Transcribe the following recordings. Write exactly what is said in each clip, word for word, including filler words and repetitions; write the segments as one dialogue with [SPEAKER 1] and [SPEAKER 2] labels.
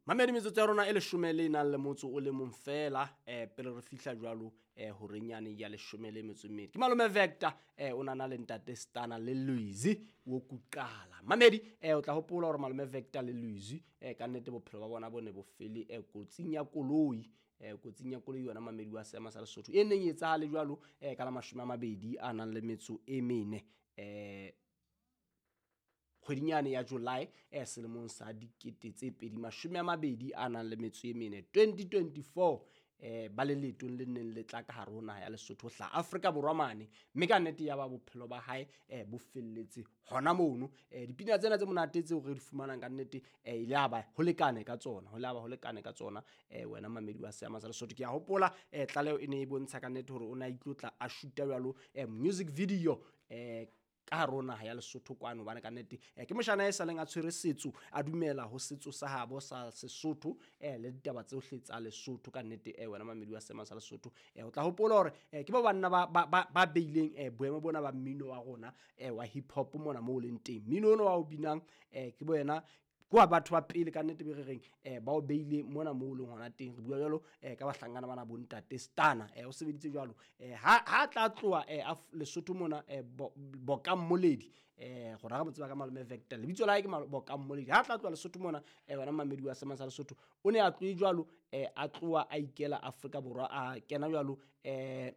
[SPEAKER 1] Mamedi, metsotso ya rona e leshome le nang le motso o le mong fela um pele re fihla jwalo um horeng yane ya leshome le metso e mmedi. Ke malome Vector um o nana le ntate Stana le Louise Wokuqala. Mamedi, um o tla hopola hore malome Vector le Louise um ka nnete bophelo ba bona bo ne bo fele um kotsing ya koloi, um kotsing ya koloi yona mamedi wa seema sa Lesotho e neng e etsahale jwalo um ka la mashome a mabedi a nang le metso e mene um kgweding yane ya July eh selemong sa dikete tse pedi mashome a mabedi a nang le metso e mene twenty twenty-four eh ba le leetong le neng le tla ka hare ho naha ya Lesotho hla Afrika Borwa mane, mme ka nnete ya ba bophelo ba hae eh bo felletse hona mono. Eh dipina tsena tse monate tseo re di fumanang ka nnete eh ile ya ba ho lekane ka tsona, ho le ba ho lekane ka tsona eh wena mamedi wa seema sa Lesotho. Ke a hopola eh tlaleho e ne e bontsha ka nnete hore o ne a itlotla a shoota jwalo eh music video eh ka hare ho naha ya Lesotho kwano, hobane ka nnete eh ke moshana e saleng a tshwere setso, a dumela ho setso sa habo sa Sesotho eh le ditaba tsohle tsa Lesotho ka nnete eh wena mamedi wa seema sa Lesotho. Eh o tla hopola hore eh ke ba banna ba ba ba beileng eh boemo bona ba mmino wa rona eh wa hip hop mona moo leng teng. Mmino ono wa o binang eh ke boena kwa batho ba pele ka nnete be re reng eh ba o beile mona moo leng hona teng. Re bua jwalo eh ka bahlankana bana bo ntate Stana eh o sebeditse jwalo eh ha ha tla tloha eh Lesotho mona eh Bokammoledi eh gora re mo tseba ka malome Vector, lebitso la hae ke Bokammoledi. Ha tla tloha Lesotho mona eh wena mamedi wa seema sa Lesotho o ne a tlohe jwalo eh a tloha a ikela Afrika Borwa, a kena jwalo eh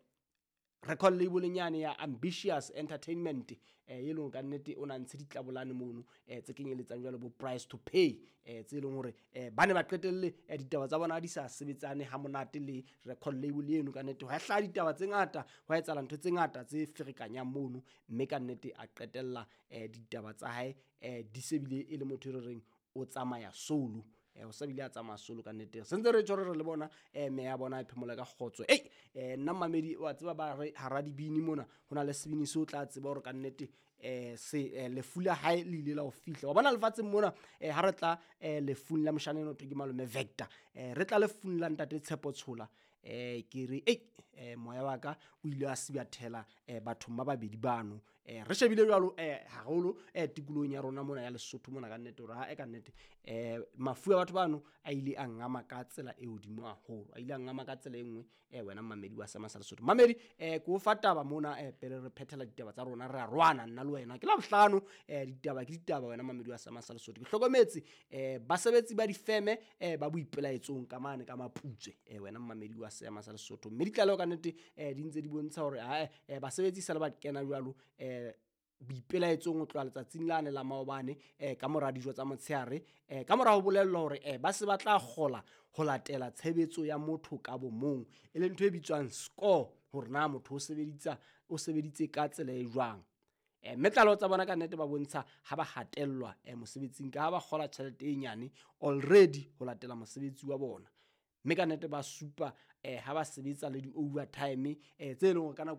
[SPEAKER 1] record label nyane ya Ambitious Entertainment eh e leng ka nnete o na ntshe ditlabolane mono eh tse kenyeletsang jwalo bo Price to Pay eh tse leng hore eh ba ne ba qetelle ditaba tsa bona di sa sebetsane ha monate le record label eno. Ka nnete ho hlaha ditaba tse ngata, ho etsahala ntho tse ngata tse ferekanyang mono, mme ka nnete a qetella eh ditaba tsa hae eh di sebile e le motho e re reng o tsamaya solo. Eh o sa bile a tsamaya solo ka nnete. Se ntse re tjho re le bona eh me ya bona e phemola ka kgotso. Ei eh nna mamedi wa tseba ba re hara dibini mona hona le sebini se o tla tseba hore ka nnete eh se lefu la hae le ile la ho fihla. Wa bona lefatsheng mona eh ha re tla eh lefung la moshana eno ke malome Vector, eh re tla lefung la ntate Tshepo Tshola eh ke re ei eh moya wa ka o ile a sibathela eh bathong ba babedi bano. Eh re shebile jwalo eh haholo eh tikolohong ya rona mona ya Lesotho mona ka nnete hore ha e ka nnete eh mafu a batho bano a ile a ngama ka tsela e hodimo haholo, a ile a ngama ka tsela e nngwe eh wena mamedi wa seema sa Lesotho. Mamedi eh ke o fa taba mona eh pele re phethela ditaba tsa rona, re a rwana nna le wena ke la bohlano eh ditaba ke ditaba wena mamedi wa seema sa Lesotho. Ke hlokometse eh basebetsi ba difeme eh ba boipelaetsong ka mane ka Maputswe eh wena mamedi wa seema sa Lesotho, mme ditlaleho ka nnete eh di ntse di bontsha hore ha eh basebetsi sa le ba kena jwalo eh boipelaetsong ho tloha letsatsing lane la maobane eh ka mora dijo tsa motshehare eh ka mora ho bolellwa hore eh ba se ba tla kgola ho latela tshebetso ya motho ka bo mong, e leng ntho e bitswang score, hore na motho o sebeditsa o sebeditse ka tsela e jwang. Eh mme tlaleho tsa bona ka nnete ba bontsha ha ba hatellwa eh mosebetsing ka ha ba kgola tjhelete e nyane already ho latela mosebetsi wa bona, mme ka nnete ba supa eh ha ba sebetsa le di-overtime eh tse leng hore ka nako